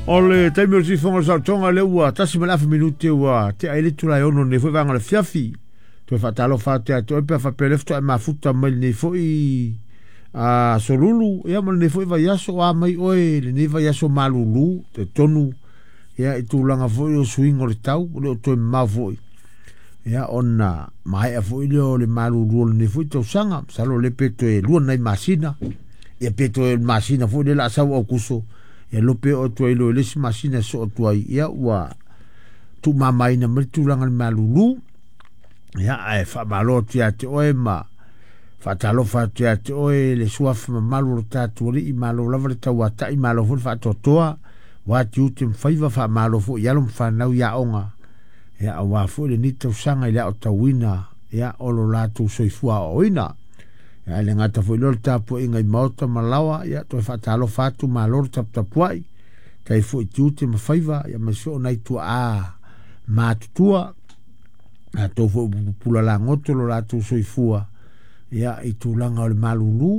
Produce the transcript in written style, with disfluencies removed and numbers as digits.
O le taimi o le sifoga o le saotoga lea ua 1.5 minute ua tea ai le itula e 6 i lenei foi vaega o le afiafi. Toe faatalofa atu ia te oe pe a faapea o lea faatoa e mafuta mai lenei foi aso Lulu, ia ma lenei foi vaiaso, o a mai oe i lenei vaiaso malulu, talitonu ia i tulaga foi o suiga o le tau, e le o toe mamao foi ia ona maea foi lea o le malulu o lenei foi tausaga. Masalo o lea pe toe 2 nai masina, ia pe toe masina foi lea o le a sau Aokuso, ia iloa pe oo atu ai loa i le isi masina e soo atu ai, ia ua tuumamaina mai le tulaga i le malulu. Ia ae faamalo atu ia te oe ma faatalofa atu ia te oe le suafa mamalu o le tatou alii, malo lava le tauatai, malo foi le faatoatoa, ua tiute ma faiva, faamalo foi i alo ma fanau i aoga, ia aua foi lenei tausaga i le aotauina ia o lo latou soifua aoaoina. Ia ae le gata foi lea o le tapuaiga i maota ma laoa, ia toe faatalofa atu, malo le taputapuai, tai foi tiute ma faiva, ia aemaise foi o nai tuaa matutua, latou foi ua pupula lagoto lo latou soifua ia i tulaga o le malulu.